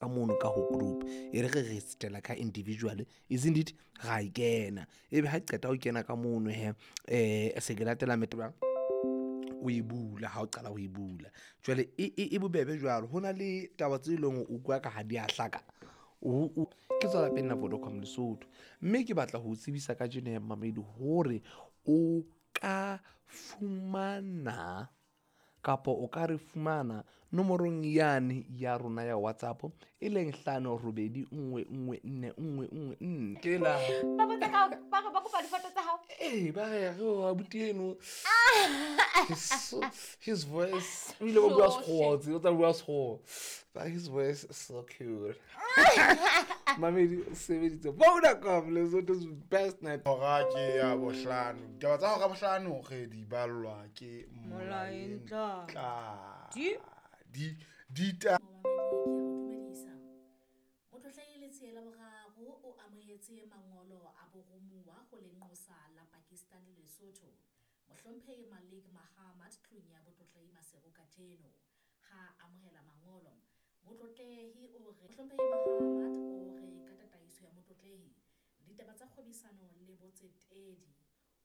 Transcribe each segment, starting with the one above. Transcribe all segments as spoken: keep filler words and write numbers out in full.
Ka mono ka ho group e re re re setela ka individual, isn't it? Ra e kena, ebe ha qeta ho kena ka mono he, um se ke latela metaba o e bula. Ha o qala ho e bula jwale e, e, e bobebe jwalo. Ho na le taba tse leng hore o utlwa ka ha di a hlaka. O- o- ke tswa lapeng la Vodacom Lesotho, mme ke batla ho o tsebisa ka jeno ya mamedi hore o ka fumana kapa o ka re fumana nomorong yane ya rona ya WhatsApp, e leng hlano robedi nngwe nngwe nne nngwe nngwe nne. Ke la Ba botsa ka ba re ba kopa difoto tsa hao. Ee, ba re re o abuti eno, his, his voice, o ile ba bua Sekgowa, o tla bua Sekgowa, but his voice is so cute. Mamedi o sebeditse Vodacom, Lesotho's best net. Hora ke ya bohlano. Ditaba tsa hora bohlano re di ballwa ke Molaeng Tla. Di di dita Momamedi, ke a o dumedisa. Motlotlehi Letsie la Boraro o amohetse mangolo a boromuwa ho lenqosa la Pakistan le Lesotho, Mohlomphehi Malik Mahamad, tlung ya Botlotlehi Maseru kajeno. Ha a amohela mangolo, Motlotlehi o re Mohlomphehi Mahamad o re ka tataiso ya Motlotlehi, ditaba tsa kgwebisano le botsetedi,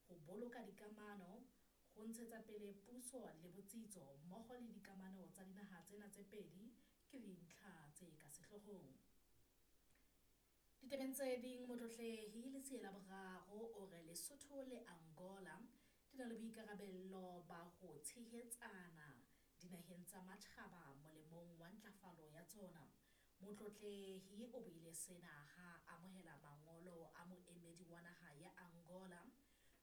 ho boloka dikamano, ho ntshetsa pele puso le botsitso mmoho le dikamano tsa dinaha tsena tse pedi ke dintlha tse ka sehloohong. Ditabeng tse ding, Motlotlehi Letsie la Boraro o re Lesotho le Angola di na le boikarabello ba ho tshehetsana dinaheng tsa matjhaba molemong wa ntlafalo ya tsona. Motlotlehi o buile sena ha a amohela mangolo a moemedi wa naha ya Angola,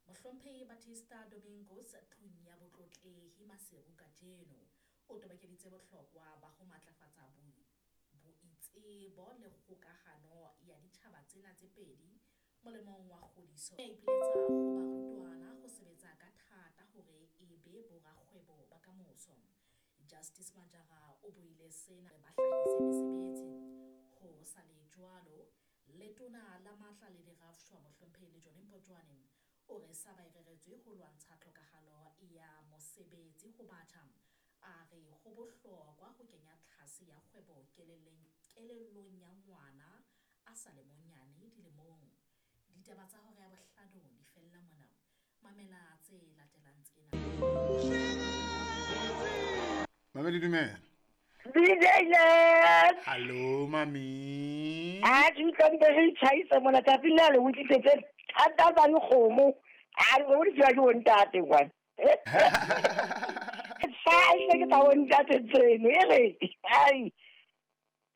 Mohlomphehi Batista Domingos, tlung ya Botlotlehi Maseru kajeno. O tobokeditse bohlokwa ba ho matlafatsa bo- boitsebo le kgokahano ya ditjhaba tsena tse pedi molemong wa kgodiso. A ipiletsa ho barutwana ho sebetsa ka thata hore e be borakgwebo ba kamoso. Justice Majara o buile sena ba hlahise mesebetsi. Ho sa le jwalo, Letona la Matla le Dirafshwa, Mohlomphehi Lejone Mpotjoane, o re sa ba e reretswe ho lwantsha tlhokahalo ya mosebetsi ho batjha. A re ho bohlokwa ho kenya tlhase ya kgwebo kelelleng kelellong ya ngwana a sa le monyane dilemong. Ditaba tsa hora ya bohlano di fella mona. Mamela tse latelang tsena. Mamedi, dumela. D J Les. Hallo mami. A ke utlwa ntse re itjhaisa mona tsatsing le le o tlisetse thata tsa dikgomo. A re o di tswa ke bontate kwana. Fa e ke tsa bontate tseno e re ai.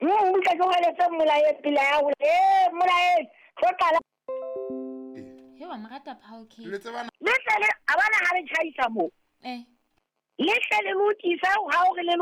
Hmm, utlwa ke hweletse mmolaye pele ya ho eh mmolaye tlo qala. He, wa mo rata Paul K. Le tsebana. Le tle le a bona ha re tjhaisa mo. Eh. Le tle le lokisa ha o re le